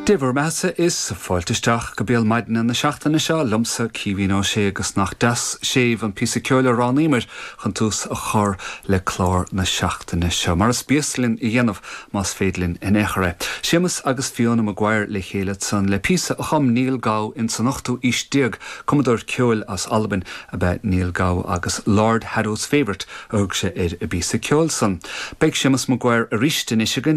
Dé bhur mbeathasa is fáilte isteach go Béal Maidine na seachtaine seo liomsa Caoimhín Ó Sé agus nach deas séimh an píosa ceoil a roghnaíomar chun tús a chur le clár na seachtaine seo, mar is béas linn a dhéanamh más féidir linn in aon chor é. Séamus agus Fiona Maguire le chéile ansan le píosa a chum Neil Gow ins an ochtú aois déag, cumadóir ceoil as Albain ab ea Neil Gow agus Lord Haddo's Favourite a thug sé ar an bpíosa ceoil san. Beidh Séamus Maguire arís anois againn.